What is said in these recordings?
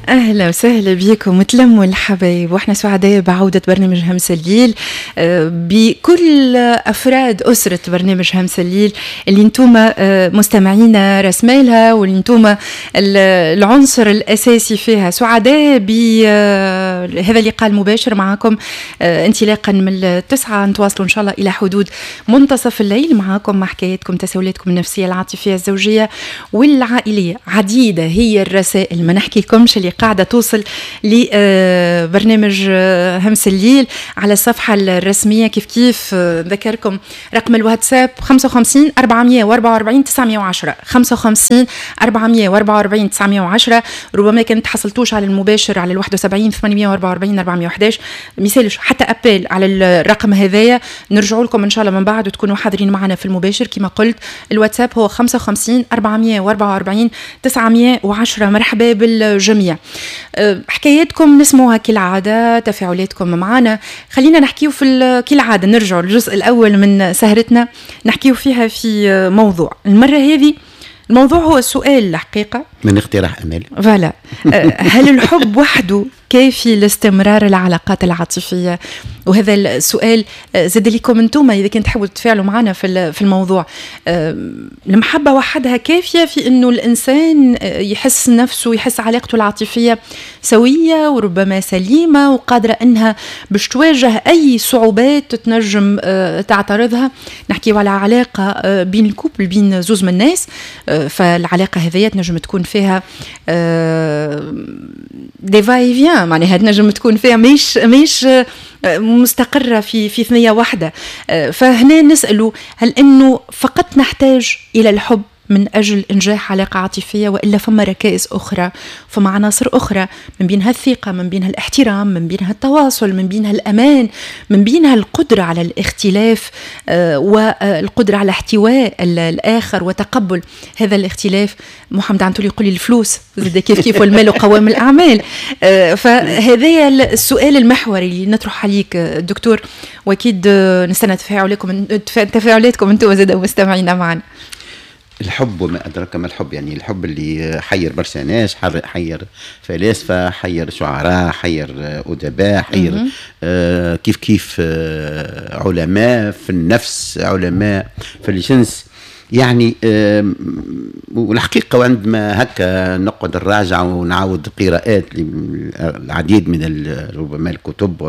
اهلا وسهلا بكم وتلموا الحبايب، واحنا سعداء بعوده برنامج همس الليل بكل افراد اسره برنامج همس الليل اللي انتم مستمعينا رسمالها واللي انتم العنصر الاساسي فيها. سعداء بهذا اللقاء المباشر معكم انطلاقا من 9 نتواصلوا ان شاء الله الى حدود منتصف الليل معكم مع حكاياتكم، تساؤلاتكم النفسية، العاطفيه، الزوجية والعائليه. عديدة هي الرسائل، ما نحكي لكمش اللي قاعدة توصل لبرنامج همس الليل على الصفحة الرسميه. كيف كيف نذكركم رقم الواتساب 55 444 910، 55 444 910. ربما كان تحصلتوش على المباشر على 71 844 411، ميسالش حتى appel على الرقم هذايا، نرجعوا لكم ان شاء الله من بعد وتكونوا حاضرين معنا في المباشر. كما قلت الواتساب هو 55 444 910. مرحبا بالجميع. حكاياتكم نسموها كالعادة، تفاعلاتكم معنا. خلينا نحكيو في كالعادة، نرجعوا للجزء الأول من سهرتنا نحكيو فيها في موضوع المرة هذه. الموضوع هو السؤال الحقيقة من اقتراح أمال. voilà، هل الحب وحده كافي لاستمرار العلاقات العاطفية؟ وهذا السؤال زاد لكم انتم اذا كنت تحبوا تتفاعلوا معنا في الموضوع. المحبة وحدها كافيه في انه الانسان يحس نفسه، يحس علاقته العاطفية سويه وربما سليمة وقادرة انها باش تواجه اي صعوبات تنجم تعترضها؟ نحكيو على علاقة بين ال couple، بين زوز من الناس، فالعلاقه هذه تنجم تكون فيها des va-et-vient، معناها تنجم تكون فيها مش مستقرة في ثنية واحدة. فهنا نسأل، هل أنه فقط نحتاج إلى الحب من أجل إنجاح علاقة عاطفية، وإلا فما ركائز أخرى، فما عناصر أخرى، من بينها الثقة، من بينها الاحترام، من بينها التواصل، من بينها الأمان، من بينها القدرة على الاختلاف والقدرة على احتواء الآخر وتقبل هذا الاختلاف؟ محمد عنتولي يقول لي الفلوس زاد كيف كيف، والمال قوام الأعمال. فهذا السؤال المحوري اللي نطرح عليك دكتور، واكيد نستنى تفاعلاتكم انتم زاد مستمعينا معنا. الحب وما أدراك ما الحب، يعني الحب اللي حير برشا ناس، حير فلاسفة، حير شعراء، حير أدباء، حير كيف كيف علماء في النفس، علماء في الجنس. يعني والحقيقة وعندما هكا نقعد نراجع ونعاود قراءات العديد من ربما الكتب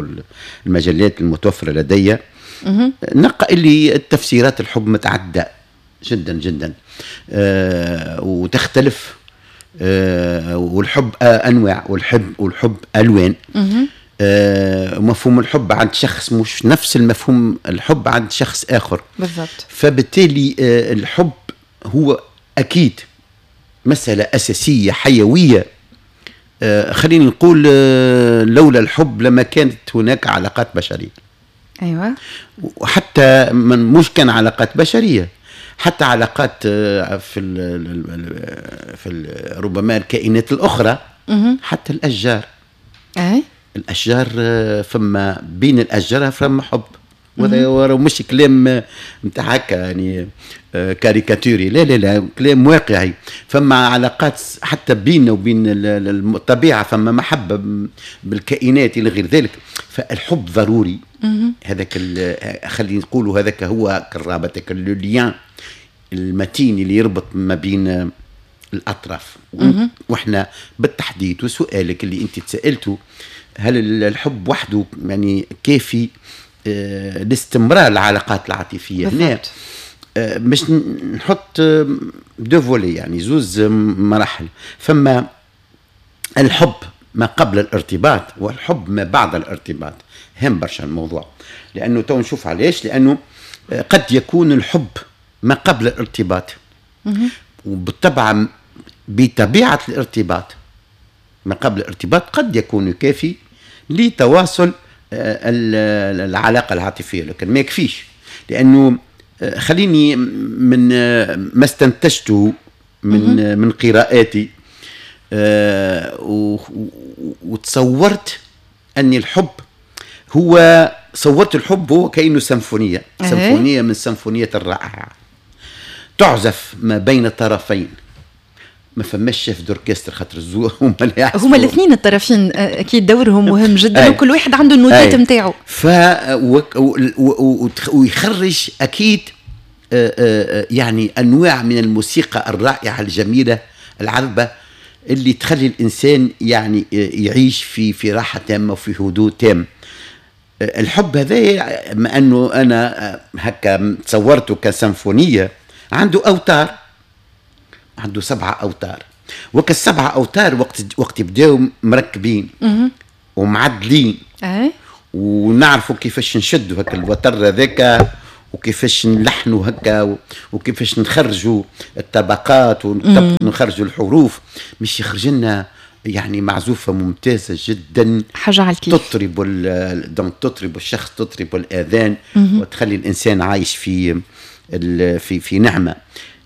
والمجلات المتوفرة لدي، نلقى اللي التفسيرات الحب متعددة جدا جدا وتختلف، والحب انواع، والحب الوان. مفهوم الحب عند شخص مش نفس المفهوم الحب عند شخص اخر. بالضبط. فبالتالي الحب هو اكيد مسالة اساسية حيوية. خليني نقول لولا الحب لما كانت هناك علاقات بشرية. ايوه. وحتى من مش كان علاقات بشرية، حتى علاقات في ربما الكائنات الاخرى، حتى الاشجار. أي؟ الاشجار فما بين الاشجار فما حب، وهذا مش كلام نتاع هكا يعني كاريكاتوري، لا لا لا، كلام واقعي. فما علاقات حتى بيننا وبين الطبيعة، فما محبة بالكائنات الى غير ذلك. فالحب ضروري. هذاك خلينا نقولوا هذاك هو الرابط، le lien المتين اللي يربط ما بين الاطراف. واحنا بالتحديد وسؤالك اللي انت تسالته، هل الحب وحده يعني كافي لاستمرار العلاقات العاطفية؟ هنا باش نحط deux volets، يعني زوز مراحل. فما الحب ما قبل الارتباط والحب ما بعد الارتباط. هم برشا الموضوع، لانه تو نشوف علاش. لانه قد يكون الحب ما قبل الارتباط، وبالطبع بطبيعة الارتباط ما قبل الارتباط قد يكون كافي لتواصل العلاقة العاطفية، لكن ما يكفيش. لأنه خليني من ما استنتجته من قراءاتي وتصورت أن الحب هو، صورت الحب هو كأنه سيمفونية، سيمفونية من السيمفونيات الرائعة تعزف ما بين الطرفين. ما فماش chef d'orchestre، خاطر هما هما الاثنين الطرفين اكيد دورهم مهم جدا، وكل واحد عنده النوتات نتاعو. ف ويخرج اكيد يعني انواع من الموسيقى الرائعة الجميلة العذبة اللي تخلي الانسان يعني يعيش في راحة تامة وفي هدوء تام. الحب هذا، ما انه انا هكا تصورته كسيمفونيه، عنده اوتار، عنده 7 اوتار، وكالسبعة اوتار وقت يبداو مركبين ومعدلين ونعرفوا كيفاش نشدوا هكا الوتر هذاك، وكيفاش نلحنوا هكا، وكيفاش نخرجوا الطبقات ونخرجوا الحروف، مش يخرج لنا يعني معزوفة ممتازة جدا، حاجة على الكيف، تطرب تطرب الشخص، تطرب الآذان، وتخلي الإنسان عايش في في في نعمة.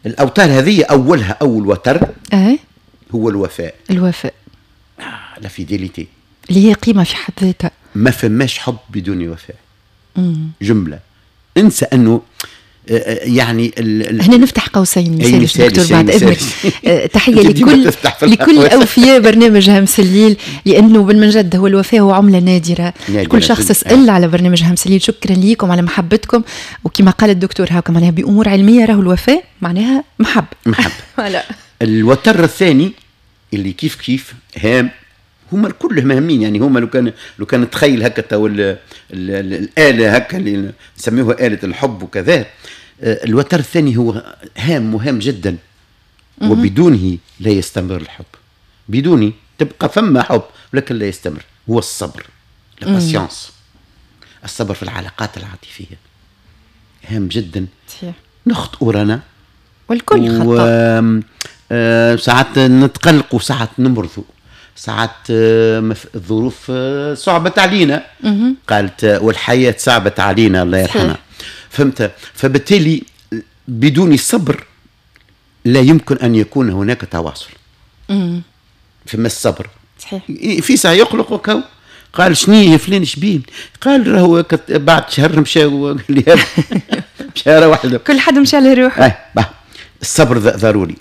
الأوتار هذه أولها أول وتر هو الوفاء. الوفاء، la fidélité، اللي هي قيمة في حد ذاتها. ما فماش حب بدون وفاء. جملة انسى أنه يعني هنا نفتح قوسين مثال دكتور بعد اذنك. تحية لكل اوفياء برنامج همس الليل، لانه بالمنجد هو الوفاء هو عمله نادرة. كل شخص سال على برنامج همس الليل، شكرا لكم على محبتكم. وكما قال الدكتور هاكا معناها بامور علمية، راهو الوفاء معناها محبة. محبة. الوتر الثاني اللي كيف كيف هام، هما الكل مهمين يعني. هما لو كان تخيل هكا تو الآلة هكا اللي نسميوها آلة الحب وكذا، الوتر الثاني هو هام مهم جدا، وبدونه لا يستمر الحب. بدونه تبقى فما حب ولكن لا يستمر، هو الصبر، la patience. الصبر في العلاقات العاطفية هام جدا. نخطئ رانا والكل خطأ، ساعات نتقلق وساعات نمرضوا، ساعات الظروف صعبت علينا، قالت والحياة صعبت علينا الله يرحمها، فهمت؟ فبالتالي بدون الصبر لا يمكن أن يكون هناك تواصل. فما الصبر صحيح في ساعة يقلق وكو قال شني فلان شبيه، قال راهو بعد شهر مشى مشى وحده، كل حد مشى على روحه. الصبر ضروري.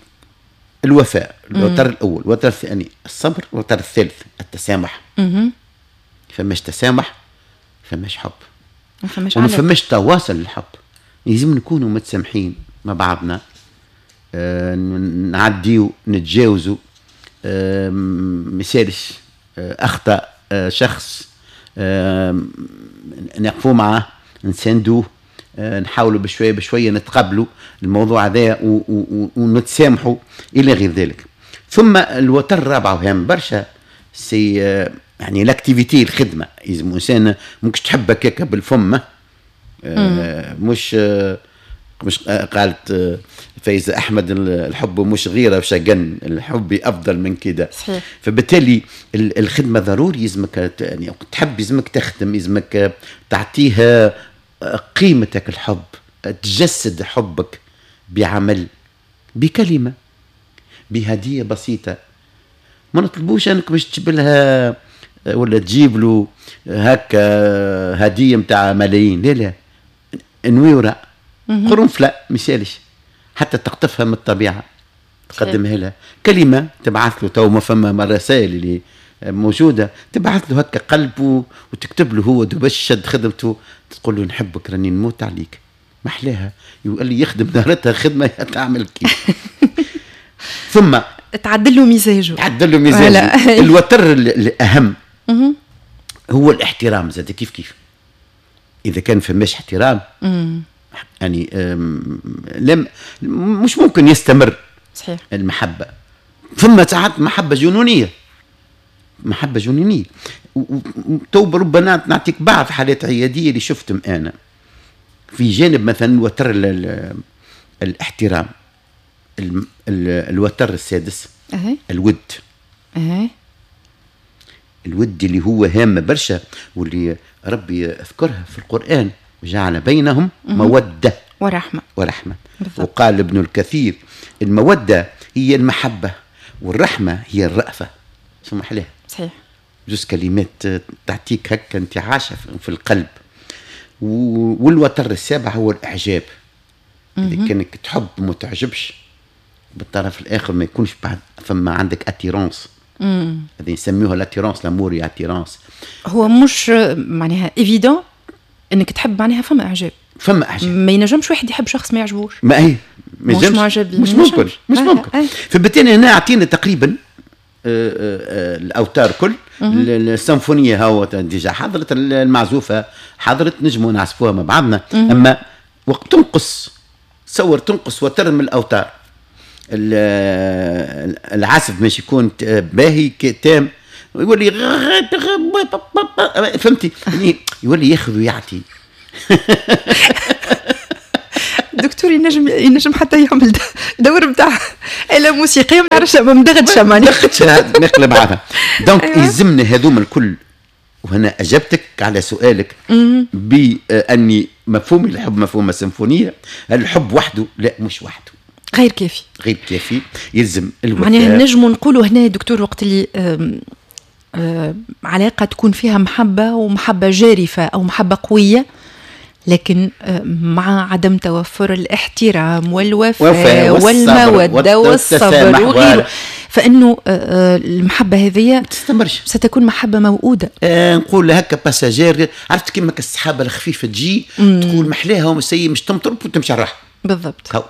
الوفاء الوتر الأول، الوتر الثاني الصبر، الوتر الثالث التسامح. فماش تسامح فماش حب، وما فماش تواصل للحب. لازم نكونوا متسامحين مع بعضنا، نعديو نتجاوزوا، مثالش أخطأ شخص نقفوا معه، نساندوه، نحاولوا بشوية بشوية نتقبلوا الموضوع هذا ونتسامحوا الى غير ذلك. ثم الوتر الرابع وهام برشا، c'est يعني l'activité، الخدمة. لازم انسان ممكن تحب هكاك بالفم، مش قالت فايزة احمد الحب مش غيره وشجن، الحب افضل من كده. صحيح. فبالتالي الخدمة ضروري، يلزمك يعني تحب، يلزمك تخدم، يلزمك تعطيها قيمتك الحب، تجسد حبك بعمل، بكلمة، بهدية بسيطة. ما نطلبوش انك باش تجيب لها ولا تجيب له هكا هدية متاع ملايين، لا لا، نويرة قرنفلة مثالش، حتى تقطفها من الطبيعة تقدمها لها، كلمة تبعث له، تو ما فما الرسائل اللي موجودة، تبعث له هكا قلبه وتكتب له هو دبش شد خدمته، تقول له نحبك راني نموت عليك، محلاها. يقول لي يخدم نهارتها خدمة تعمل كيف. ثم تعدل له مزاجه، تعدل له مزاجه. الوتر الأهم هو الاحترام زاد كيف كيف. إذا كان فماش احترام يعني لم مش ممكن يستمر. صحيح. المحبة ثم ساعات محبة جنونية، محبة جنونية. تو ربما نعطيك بعض حالات عيادية اللي شفتهم أنا في جانب مثلا وتر الاحترام، الوتر السادس الود. الود اللي هو هام برشا، واللي ربي اذكرها في القرآن، وجعل بينهم مودة ورحمة. ورحمة. وقال ابن الكثير المودة هي المحبة والرحمة هي الرأفة. سمح لها. صحيح. جوز كلمات تعطيك هكا انتعاشة في القلب. والوتر السابع هو الإعجاب. إذا كانك تحب ما تعجبش بالطرف الاخر ما يكونش بعد فما عندك attirance. هذه يسميوها l'attirance، l'amour attirance. هو مش معناها évident انك تحب، معناها فما اعجاب، فما اعجاب. ما ينجمش واحد يحب شخص ما يعجبوش. ما هي ما مش معجب، مش ممكن، مش ممكن. فبالتالي هنا اعطينا تقريبا الاوتار كل السيمفونية، هو déjà حضرت المعزوفه، حضرت، نجموا نعزفوها مع بعضنا. اما وقت تنقص، تصور تنقص وتر من الاوتار، العزف مش يكون باهي تام، يولي فهمتي، يعني يولي ياخذ ويعطي. دكتور ينجم حتى يعمل دور نتاع آلة موسيقية، ما نعرفش، مدغدشة معناها، مدغدشة نقلب بعضها. donc يلزمنا هذوما الكل. وهنا أجبتك على سؤالك بأني مفهوم الحب مفهوم السيمفونية. الحب وحده لا، مش وحده، غير كافي، غير كافي، يلزم الوفاء. معناها نجموا نقولوا هنا دكتور وقت اللي علاقة تكون فيها محبة ومحبة جارفة أو محبة قوية، لكن مع عدم توفر الاحترام والوفاء والمودة والصبر وغيره، فإنه المحبة هذه تستمرش، ستكون محبة موؤودة. نقول هكا passagère، عرفت كيما السحابة الخفيفة تجي تقول محلاها ومسي مش تمطر وتمشي على الراحة. بالضبط.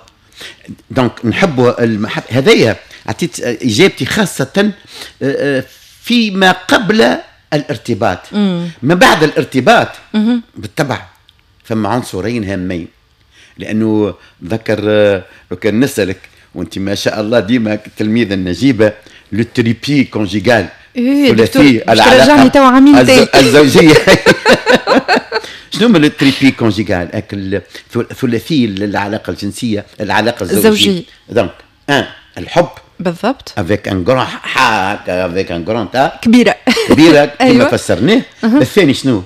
donc نحبوا المحبة هذايا. عطيت إجابتي خاصة فيما قبل الارتباط. ما بعد الارتباط بالطبع فما عنصرين هامين، لأنه ذكر لو كان نسألك وأنت ما شاء الله ديما التلميذة النجيبة، le trépied conjugal، ثلاثي العلاقة الزوجية. شنو هما le trépied conjugal؟ ثلاثي العلاقة الجنسية، العلاقة الزوجية. donc un الحب، بالضبط، avec un grand avec un grand A، كبيرة كبيرة كما فسرناه. الثاني شنو؟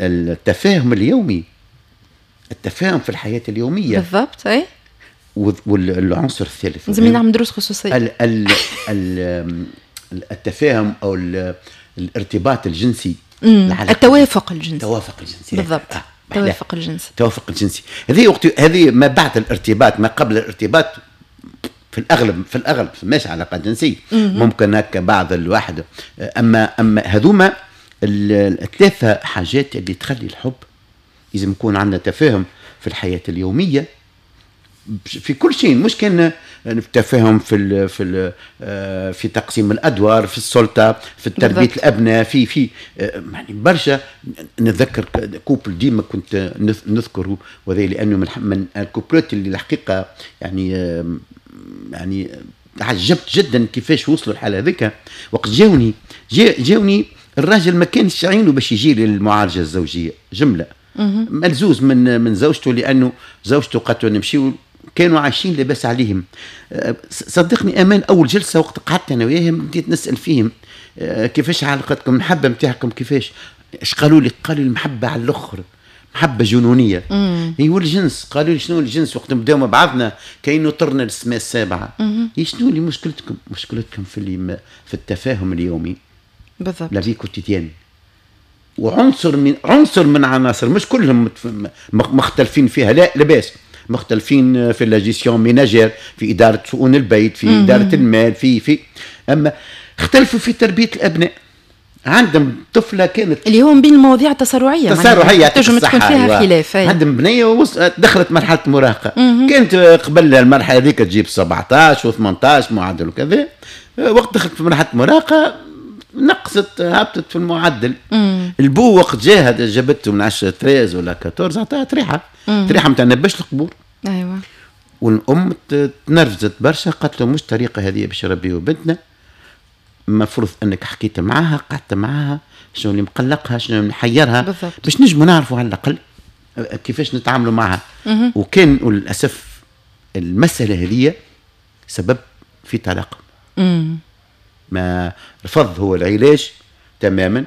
التفاهم اليومي، التفاهم في الحياة اليومية. بالضبط. اي. والعنصر الثالث لازم نعمل دروس خصوصية، التفاهم او الارتباط الجنسي، التوافق الجنسي. التوافق الجنسي، بالضبط. التوافق الجنسي، التوافق الجنسي. هذه وقت هذه ما بعد الارتباط، ما قبل الارتباط في الاغلب، في الاغلب ماشي علاقة جنسية، ممكن هكا بعض الواحد. اما هذوما الثلاثة حاجات اللي تخلي الحب لازم يكون عندنا تفاهم في الحياة اليومية في كل شيء، مش كان تفاهم في في في تقسيم الادوار، في السلطه، في تربيه الابناء، في يعني برشا. نتذكر couple ديما كنت نذكره، وهذا لانه من ال couple ات اللي الحقيقة يعني تعجبت جدا كيفاش وصلوا الحالة هذيك. وقت جاوني الراجل ما كانش عينه باش يجي للمعالجه الزوجية جمله، ملزوز من زوجته، لانه زوجته قالت له نمشيو، كانوا عايشين لاباس عليهم. صدقني امان، اول جلسه وقت قعدت انا وياهم بديت نسال فيهم كيفاش علاقتكم، المحبة نتاعكم كيفاش، اش قالوا لي؟ قالوا المحبة على الاخر، محبة جنونيه. هي والجنس، قالوا لي شنو الجنس؟ وقت نبداو مع بعضنا كاينو طرنا للسماء السابعة. شنو اللي مشكلتكم؟ مشكلتكم في التفاهم اليومي. بالضبط، la vie quotidienne. وعنصر من عنصر من عناصر، مش كلهم مختلفين فيها، لا لاباس، مختلفين في la gestion ménagère، في ادارة شؤون البيت، في ادارة المال، في اما اختلفوا في تربيه الابناء. عندهم طفله كانت اللي هو من بين المواضيع التسارعيه، التسارعيه تنجم تكون فيها خلاف. عندهم بنيه دخلت مرحلة المراهقة، كانت قبل المرحلة هذيك تجيب 17 و18 معدل وكذا، وقت دخلت في مرحلة المراهقة نقصت، هبطت في المعدل. البو وقت جاها جابته من 10 13 ولا 14، عطاها طريحه، طريحه نتاع نبش القبور. ايوه. والام تنرفزت برشا، قالت له مش طريقه هذه باش نربيو بنتنا، المفروض انك حكيت معاها، قعدت معاها، شنو اللي مقلقها، شنو اللي محيرها، باش نجموا نعرفوا على الاقل كيفاش نتعاملوا معها. وكان وللاسف المسالة هذه سبب في طلاق. ما رفض هو العلاج تماما،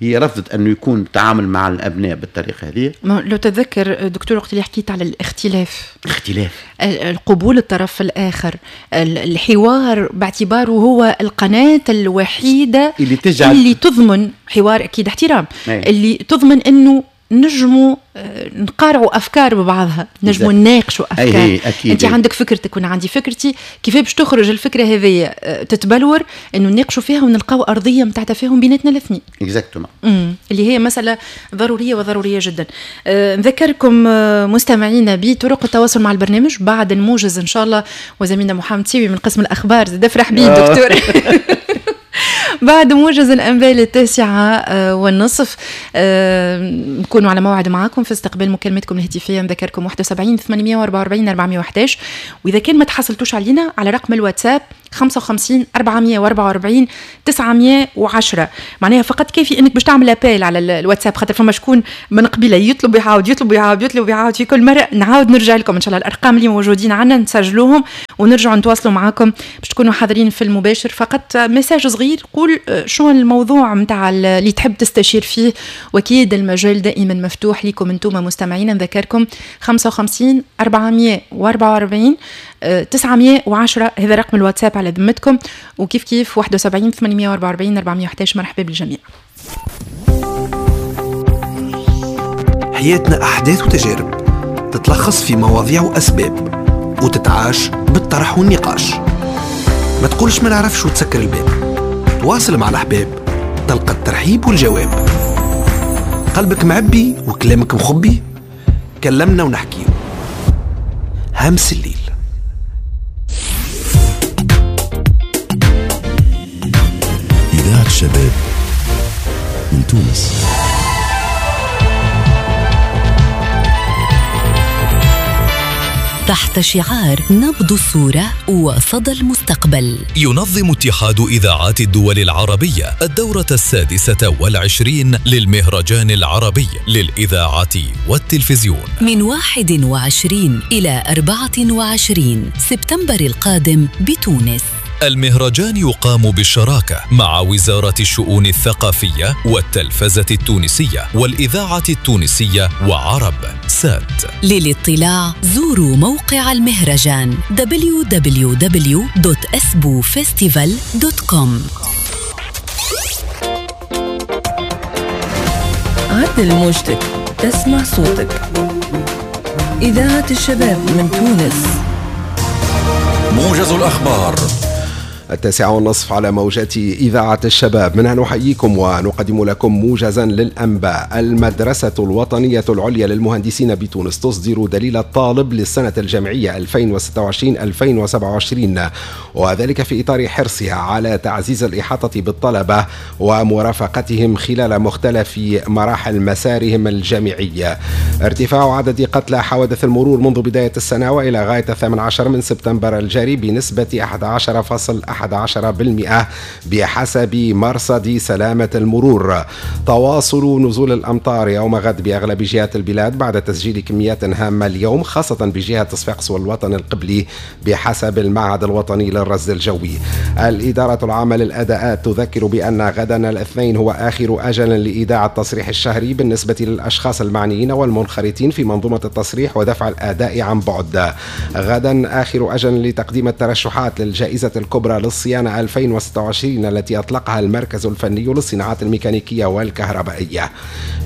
هي رفضت انه يكون التعامل مع الابناء بالطريقة هذه. لو تتذكر دكتور وقت اللي حكيت على الاختلاف، اختلاف القبول الطرف الاخر، الحوار باعتباره هو القناة الوحيدة اللي تجعل اللي تضمن حوار، اكيد احترام، أي. اللي تضمن انه نجموا نقارعوا افكار ببعضها، نجموا نناقشوا افكار. انت عندك فكرتك وانا عندي فكرتي، كيف باش تخرج الفكرة هذه تتبلور انه نناقشوا فيها ونلقاو ارضية نتاع تفاهم بيناتنا الاثنين. exactement. اللي هي مسالة ضرورية وضرورية جدا. نذكركم مستمعينا بطرق التواصل مع البرنامج بعد الموجز ان شاء الله، وزميلنا محمد سيوي من قسم الاخبار زاد افرح بيه دكتور. بعد موجز الأنباء 9:30 نكونوا على موعد معاكم في استقبال مكالمتكم الهاتفية. نذكركم 71 844 411، وإذا كان ما تحصلتوش علينا على رقم الواتساب 55 444 910. معناها فقط كافي انك باش تعمل appel على الواتساب، خاطر فما شكون من قبيلة يطلب يعاود يطلب يعاود يطلب يعاود في كل مرة. نعاود نرجع لكم ان شاء الله الارقام اللي موجودين عندنا نسجلوهم ونرجعوا نتواصلوا معاكم باش تكونوا حاضرين في المباشر. فقط message صغير قول شو الموضوع نتاع اللي تحب تستشير فيه، واكيد المجال دائما مفتوح لكم انتم مستمعين. نذكركم 55 444 910 هذا رقم الواتساب على ذمتكم، وكيف كيف 71 844 411. مرحبا بالجميع. حياتنا أحداث وتجارب تتلخص في مواضيع وأسباب وتتعاش بالطرح والنقاش. ما تقولش ما نعرفش وتسكر الباب، تواصل مع الأحباب تلقى الترحيب والجواب. قلبك معبي وكلامك مخبي، كلمنا ونحكيه. همس الليل. إذاعة الشباب من تونس. تحت شعار نبض الصورة وصدى المستقبل، ينظم اتحاد إذاعات الدول العربية الدورة 26 للمهرجان العربي للإذاعة والتلفزيون من 21 إلى 24 سبتمبر القادم بتونس. المهرجان يقام بالشراكة مع وزارة الشؤون الثقافية والتلفزة التونسية والإذاعة التونسية وعرب سات. للاطلاع زوروا موقع المهرجان www.asbufestival.com. عدل موجتك تسمع صوتك. إذاعة الشباب من تونس. موجز الأخبار 9:30 على موجات إذاعة الشباب. منها نحييكم ونقدم لكم موجزا للأنباء. المدرسة الوطنية العليا للمهندسين بتونس تصدر دليل الطالب للسنة الجامعية 2026-2027، وذلك في إطار حرصها على تعزيز الإحاطة بالطلبة ومرافقتهم خلال مختلف مراحل مسارهم الجامعي. ارتفاع عدد قتلى حوادث المرور منذ بداية السنة وإلى غاية 18 من سبتمبر الجاري بنسبة 11.11% بحسب مرصد سلامة المرور. تواصل نزول الأمطار يوم غد بأغلب جهات البلاد بعد تسجيل كميات هامة اليوم، خاصة بجهة صفاقس والوطن القبلي بحسب المعهد الوطني للرصد الجوي. الإدارة العامة للأداءات تذكر بأن غدا الاثنين هو آخر أجل لإيداع التصريح الشهري بالنسبة للأشخاص المعنيين والمنخرطين في منظومة التصريح ودفع الأداء عن بعد. غدا آخر أجل لتقديم الترشحات للجائزة الكبرى للصيانة 2026 التي أطلقها المركز الفني للصناعات الميكانيكية والكهربائية.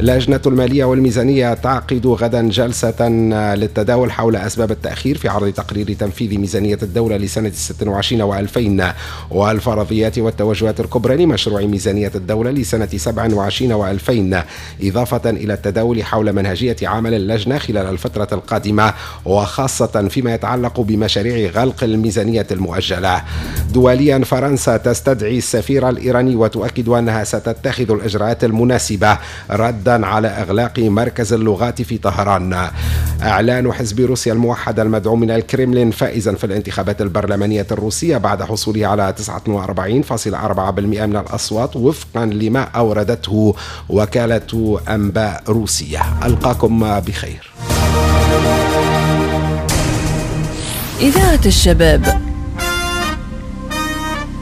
لجنة المالية والميزانية تعقد غدا جلسة للتداول حول أسباب التأخير في عرض تقرير تنفيذ ميزانية الدولة لسنة 26 و2000 والفرضيات والتوجهات الكبرى لمشروع ميزانية الدولة لسنة 27 و2000، إضافة إلى التداول حول منهجية عمل اللجنة خلال الفترة القادمة، وخاصة فيما يتعلق بمشاريع غلق الميزانية المؤجلة. دوليا، فرنسا تستدعي السفير الإيراني وتؤكد أنها ستتخذ الإجراءات المناسبة ردا على إغلاق مركز اللغات في طهران. إعلان حزب روسيا الموحد المدعوم من الكرملين فائزا في الانتخابات البرلمانية الروسية بعد حصوله على 49.4% من الأصوات وفقا لما أوردته وكالة أنباء روسية. ألقاكم بخير. إذاعة الشباب،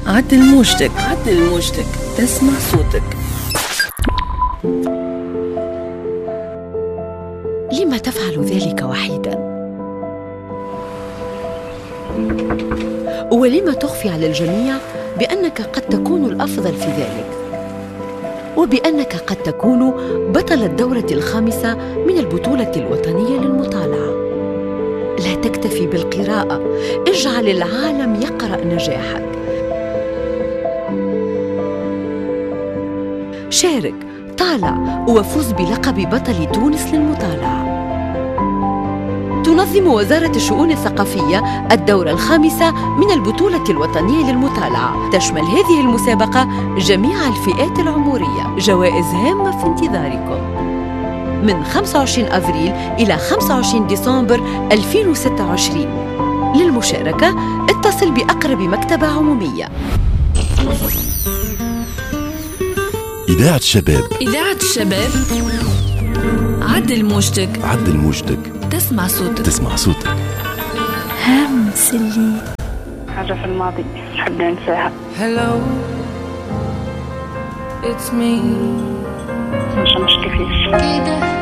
عدل موجتك، عدل موجتك، تسمع صوتك. لما تفعل ذلك وحيدا؟ ولما تخفي على الجميع بأنك قد تكون الأفضل في ذلك؟ وبأنك قد تكون بطل الدورة الخامسة من البطولة الوطنية للمطالعة. لا تكتفي بالقراءة، اجعل العالم يقرأ نجاحك. شارك، طالع، وفوز بلقب بطل تونس للمطالعة. تنظم وزارة الشؤون الثقافية الدورة الخامسة من البطولة الوطنية للمطالعة. تشمل هذه المسابقة جميع الفئات العمرية. جوائز هامة في انتظاركم من 25 أفريل إلى 25 ديسمبر 2026. للمشاركة اتصل بأقرب مكتبة عمومية. إذاعة الشباب، إذاعة الشباب، عدل موجتك، عدل موجتك، تسمع صوتك، تسمع صوتك. همس اللي حاجة في الماضي نحب ننساها. Hello, it's me. مش كيفاش.